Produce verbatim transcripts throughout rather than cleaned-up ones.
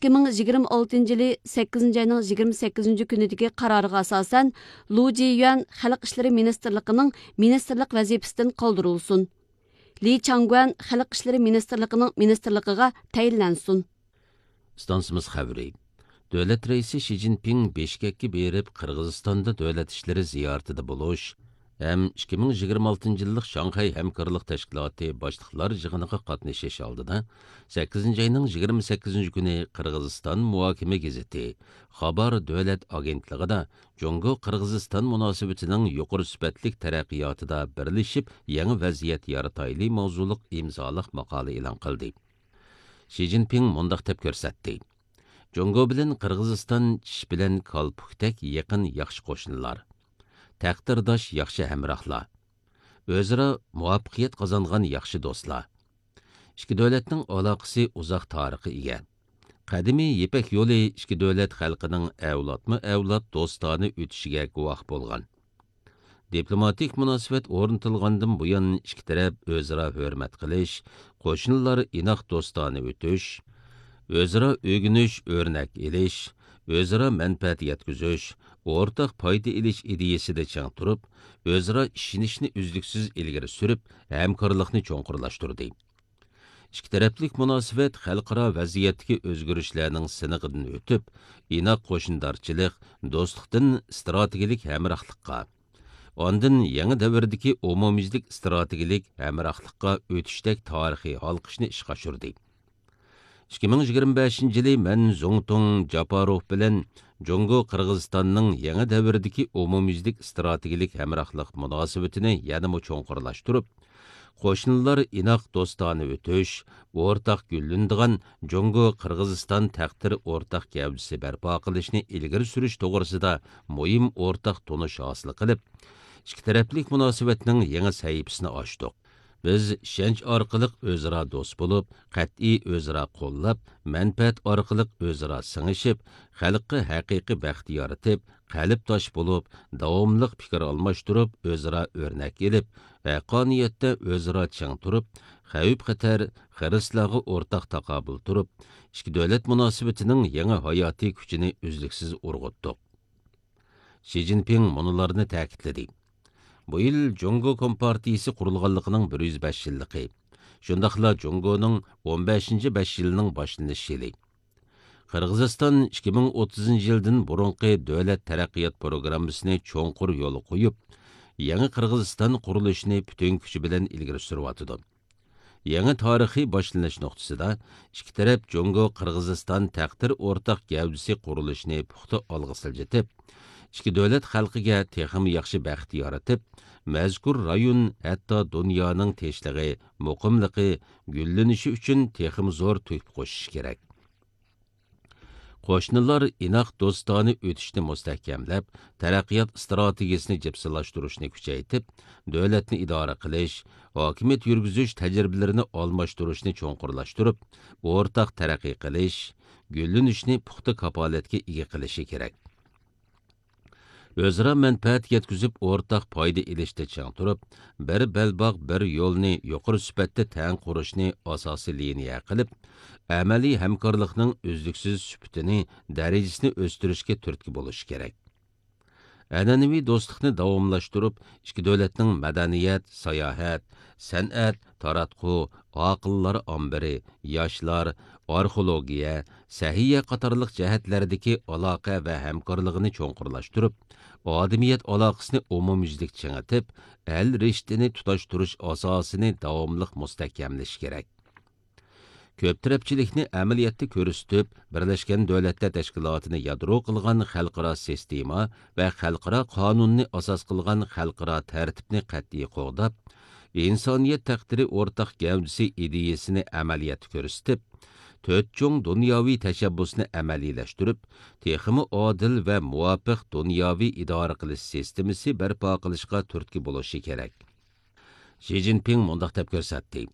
ئىككى مىڭ يىگىرمە ئالتىنچى يىلى سەككىزىنچى ئاينىڭ يىگىرمە سەككىزىنچى كۈنىدىكى قارارىغا ئاساسەن، لۇ جىيۈەن خەلق ئىشلىرى مىنىستىرلىقىنىڭ مىنىستىرلىق ۋەزىپىسىدىن قالدۇرۇلسۇن. لى چاڭگۈەن خەلق ئىشلىرى مىنىستىرلىقىنىڭ مىنىستىرلىقىغا تەيىنلەنسۇن. ئىستانسىمىز خەۋىرى. دۆلەت رەئىسى شى جىنپىڭ بىشكەككە بېرىپ، قىرغىزىستاندا دۆلەت ئىشلىرى زىيارىتىدە بولۇش ھەم ئىككى مىڭ يىگىرمە ئالتىنچى يىللىق شاڭخەي ھەمكارلىق تەشكىلاتى باشلىقلار يىغىنىغا قاتنىشىش ئالدىدا، سەككىزىنچى ئاينىڭ يىگىرمە سەككىزىنچى كۈنى قىرغىزىستان مۇھاكىمە گېزىتى خابار دۆلەت ئاگېنتلىقىدا جۇڭگو قىرغىزىستان مۇناسىۋىتىنىڭ يۇقىرى سۈپەتلىك تەرەققىياتىدا بىرلىشىپ يېڭى ۋەزىيەت يارىتايلى ماۋزۇلۇق ئىمزالىق ماقالە ئېلان قىلدى. شى جىنپىڭ مۇنداق دەپ كۆرسەتتى: جۇڭگو بىلەن قىرغىزىستان چىش بىلەن كالپۇكتەك يېقىن ياخشى قوشنىلار، تەقدىرداش ياخشى ھەمراھلار، ئۆزئارا مۇۋەپپەقىيەت قازانغان ياخشى دوستلار. ئىككى دۆلەتنىڭ ئالاقىسى ئۇزاق تارىخقا ئىگە. قەدىمىي يىپەك يولى ئىككى دۆلەت خەلقىنىڭ ئەۋلادمۇ ئەۋلاد دوستانە ئۆتۈشىگە گۇۋاھ بولغان. دىپلوماتىك مۇناسىۋەت ئورنىتىلغاندىن بۇيان، ئىككى تەرەپ ئۆزئارا ھۆرمەت قىلىش، قوشنىلار ئىناق دوستانە ئۆتۈش، ئۆزئارا ئۆگىنىش، ئۆرنەك ئېلىش، ئۆزئارا مەنپەئەت يەتكۈزۈش، ئورتاق پايدا ئېلىش ئىدىيەسىدە چىڭ تۇرۇپ، ئۆزئارا ئىشىنىشنى ئۈزلۈكسىز ئىلگىرى سۈرۈپ، ھەمكارلىقنى چوڭقۇرلاشتۇردى. ئىككى تەرەپلىك مۇناسىۋەت خەلقئارا ۋەزىيەتتىكى ئۆزگىرىشلەرنىڭ سىنىقىدىن ئۆتۈپ، ئىناق قوشنىدارچىلىق، دوستلۇقتىن ئىستراتېگىيەلىك ھەمراھلىققا، ئاندىن يېڭى دەۋردىكى ئومۇميۈزلۈك ئىستراتېگىيەلىك ھەمراھلىققا ئۆتۈشتەك تارىخىي ھالقىشنى ئىشقا ئاشۇردى. ئىككى مىڭ يىگىرمە بەشىنچى يىلى مەن زۇڭتۇڭ جاپاروف بىلەن جۇڭگو قىرغىزىستاننىڭ يېڭى دەۋردىكى ئومۇميۈزلۈك ئىستراتېگىيەلىك ھەمراھلىق مۇناسىۋىتىنى يەنىمۇ چوڭقۇرلاشتۇرۇپ، قوشنىلار ئىناق دوستانە ئۆتۈش، ئورتاق گۈللىنىدىغان جۇڭگو قىرغىزىستان تەقدىر ئورتاق گەۋدىسى بەرپا قىلىشنى ئىلگىرى سۈرۈش توغرىسىدا مۇھىم ئورتاق تونۇش ھاسىل قىلىپ، ئىككى تەرەپلىك مۇناسىۋەتنىڭ يېڭى سەھىپىسىنى ئاچتۇق. بىز ئىشەنچ ئارقىلىق ئۆزئارا دوست بولۇپ، قەتئىي ئۆزئارا قوللاپ، مەنپەئەت ئارقىلىق ئۆزئارا سىڭىشىپ، خەلققە ھەقىقىي بەخت يارىتىپ، قەلبداش بولۇپ، داۋاملىق پىكىر ئالماشتۇرۇپ، ئۆزئارا ئۆرنەك ئېلىپ، ھەققانىيەتتە ئۆزئارا چىڭ تۇرۇپ، خەۋپ-خەتەر، خىرىسلارغا ئورتاق تاقابىل تۇرۇپ، ئىككى دۆلەت مۇناسىۋىتىنىڭ يېڭى ھاياتىي كۈچىنى ئۈزلۈكسىز ئۇرغۇتتۇق. شى جىنپىڭ مۇنۇلارنى تەكىتلىدى: بۇ يىل جۇڭگو كومپارتىيىسى قۇرۇلغانلىقىنىڭ بىر يۈز بەش يىللىقى، شۇنداقلا جۇڭگونىڭ ئون بەشىنچى بەش يىلىنىڭ باشلىنىش يىلى. قىرغىزىستان ئىككى مىڭ ئوتتۇزىنچى يىلدىن بۇرۇنقى دۆلەت تەرەققىيات پروگراممىسىنى چوڭقۇر يولغا قويۇپ، يېڭى قىرغىزىستان قۇرۇلۇشىنى پۈتۈن كۈچى بىلەن ئىلگىرى سۈرۈۋاتىدۇ. يېڭى تارىخىي باشلىنىش نۇقتىسىدا ئىككى تەرەپ جۇڭگو قىرغىزىستان تەقدىر ئورتاق گەۋدىسى قۇرۇلۇشىنى پۇختا ئالغا سىلجىتىپ، ئىككى دۆلەت خەلقىگە تېخىمۇ ياخشى بەخت يارىتىپ، مەزكۇر رايون ھەتتا دۇنيانىڭ تىنچلىقى، مۇقىملىقى، گۈللىنىشى ئۈچۈن تېخىمۇ زور تۆھپە قوشۇشى كېرەك. قوشنىلار ئىناق دوستانە ئۆتۈشنى مۇستەھكەملەپ، تەرەققىيات ئىستراتېگىيەسىنى جىپسىلاشتۇرۇشنى كۈچەيتىپ، دۆلەتنى ئىدارە قىلىش، ھاكىمىيەت يۈرگۈزۈش تەجرىبىلىرىنى ئالماشتۇرۇشنى چوڭقۇرلاشتۇرۇپ، ئورتاق تەرەققىي قىلىش، گۈللىنىشنى پۇختا كاپالەتكە ئىگە قىلىشى كېرەك. ئۆزئارا مەنپەئەت يەتكۈزۈپ، ئورتاق پايدا ئېلىشتا چىڭ تۇرۇپ، بىر بەلباغ، بىر يولنى يۇقىرى سۈپەتتە تەڭ قۇرۇشنى ئاساسىي لىنىيە قىلىپ، ئەمەلىي ھەمكارلىقنىڭ ئۈزلۈكسىز سۈپىتىنى، دەرىجىسىنى ئۆستۈرۈشكە تۈرتكە بولۇشى كېرەك. ئەنئەنىۋى دوستلۇقنى داۋاملاشتۇرۇپ، ئىككى دۆلەتنىڭ مەدەنىيەت، ساياھەت، سەنئەت، تاراتقۇ، ئاقىللار ئامبىرى، ياشلار، ئارخېئولوگىيە، سەھىيە قاتارلىق جەھەتلەردىكى ئالاقە ۋە ھەمكارلىقىنى چوڭقۇرلاشتۇرۇپ، ئادىمىيەت ئالاقىسىنى ئومۇميۈزلۈك چىڭىتىپ، ئەل رىشتىنى تۇتاشتۇرۇش ئاساسىنى داۋاملىق مۇستەھكەملىشى كېرەك. كۆپ تەرەپچىلىكنى ئەمەلىيەتتە كۆرسىتىپ، بىرلەشكەن دۆلەتلەر تەشكىلاتىنى يادرو قىلغان خەلقئارا سىستېما ۋە خەلقئارا قانۇننى ئاساس قىلغان خەلقئارا تەرتىپنى قەتئىي قوغداپ، ئىنسانىيەت تەقدىرى ئورتاق گەۋدىسى ئىدىيەسىنى ئەمەلىيەتتە كۆرسىتىپ، تۆت چوڭ دۇنياۋى تەشەببۇسنى ئەمەلىيلەشتۈرۈپ، تېخىمۇ ئادىل ۋە مۇۋاپىق دۇنياۋى ئىدارە قىلىش سىستېمىسى بەرپا قىلىشقا تۈرتكە بولۇشى كېرەك. شى جىنپىڭ مۇنداق دەپ كۆرسەتتى: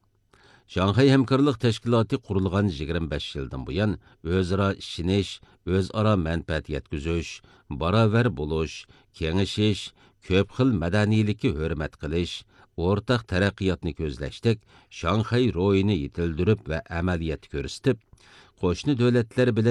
شاڭخەي ھەمكارلىق تەشكىلاتى قۇرۇلغان يىگىرمە بەش يىلدىن بۇيان، ئۆزئارا ئىشىنىش، ئۆزئارا مەنپەئەت يەتكۈزۈش، باراۋەر بولۇش، كېڭىشىش، كۆپ خىل مەدەنىيلىككە ھۆرمەت قىلىش، ئورتاق تەرەققىياتنى كۆزلەشتەك شاڭخەي روھىنى يېتىلدۈرۈپ ۋە ئەمەلىيەتتە كۆرسىتىپ، قوشنا دۆلەتلەر بىلەن